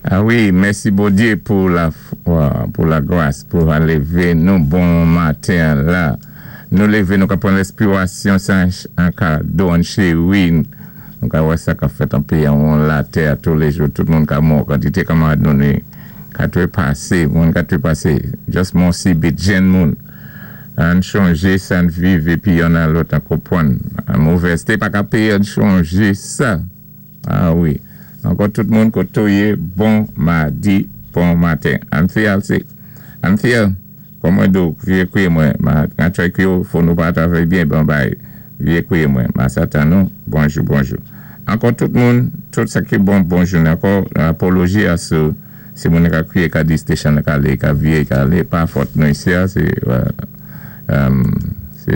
A wi, mèsi Bondyé pou la gwas, pou lévé nou bon maten la. Nou lévé, nou ka pwan lèspirasyon sa an kado, an chéri. Nou ka wè sa ka fèt an péyi an latè touléjou, tout moun ka mò, kantité kanmarad nou ni ka twépasé, moun ka twépasé, just mò sibit, jenn moun. An chanjé sa n viv épi youn a lòt an konpwann. An movèzté pa ka péyé an chanjé sa. A wi. Ankò tout moun koto yé, bon madi, bon maten. Anthea, Anthea, kòman do, vyé kwié mwen, ma try kwié ou, fò nou pa travay byen, bon bay, vyé kwié mwen, ma satan nou, bonjou, bonjou. Ankò tout moun, tout sa ki bon, bonjou. Ankò, apoloji a sou, si moun ka kwié ka di station ka lé, ka vyé, ka lé, pa fòt nou isi a, sé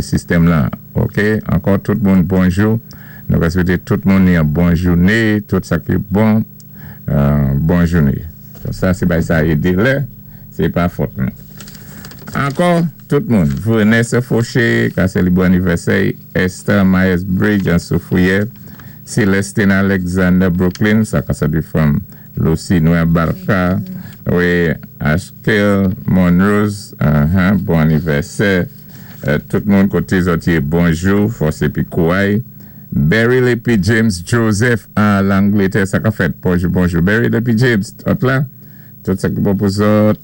sistèm la, ok? Ankò tout moun, bonjou. Nou ka swété tout moun yon bon jouné, tout sa ki bon, bon jouné. Sa sé bay sa édé lè, sé pa fòt nou. Ankò, tout moun, Vanessa Fauché, ka sélébwé anivèsè, Esther Myers Bridge an Soufrière, Celestine Alexander Brooklyn, sa ka sa di from Lucy Noël Barka, wi, Ashkel Monrose, bon anivèsè, tout moun koté zòt yé, bonjou, fòs épi kouway. Barry Lepi James Joseph an Langlétè, sa ka fèt, bonjou, bonjou. Barry Lepi James, tout la, tout sa ki bon pou zòt.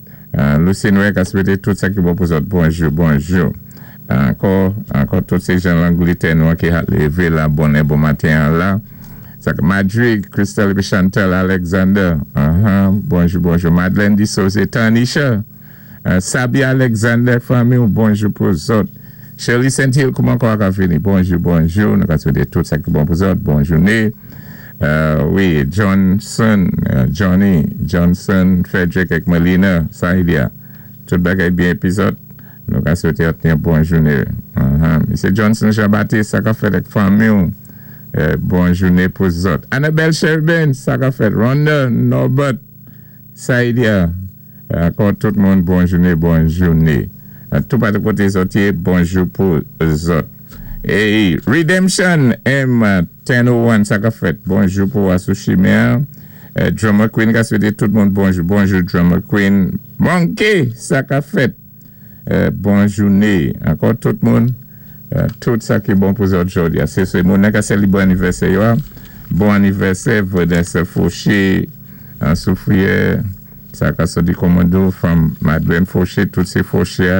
Lucy Noël ka swété tout sa ki bon pou zòt, bonjou, bonjou. Ankò, ankò tout sé jan Langlétè nou ki ha lévé la bonnè bon maten an la. Sa Madrid, Crystal épi Chantal Alexander, bonjou, bonjou. Madeleine Dissose, Tanisha, Sabi Alexander, fanmi, bonjou pou zòt. Shirley St. Hill, kouman kwa ka fini? Bonjou, bonjou. Nou ka swété tout sa ki bon pou zòt. Bon jouné. Wi, Johnson, Johnny, Johnson, Frederick ek Melina, Sahidia. Tout bagay byen épi zòt. Nou ka swété ot yon bon jouné. Msé Johnson Jean-Baptiste, sa ka fèt ek fanmi ou. Bon jouné pou zòt. Annabelle Sherben, sa ka fèt. Rhonda, Norbert, Sahidia. Ankò tout moun, bon jouné, bon jouné. Tout patou koté zòt yé, bonjou pou zòt. Hey, Redemption M1001, sa ka fèt. Bonjou pou asou chimen. Drummer Queen ka swété tout moun bonjou. Bonjou Drummer Queen. Monkey, sa ka fèt. Bon jouné. Ankò tout moun, tout sa ki bon pou zòt jòdi. Sé moun ka sélébwé anivèsè yo. Bon anivèsè, Vanessa Fauché, an Soufrière. Sa ka soti Komando, fanm Madeleine Fauché, tout sé Fauché.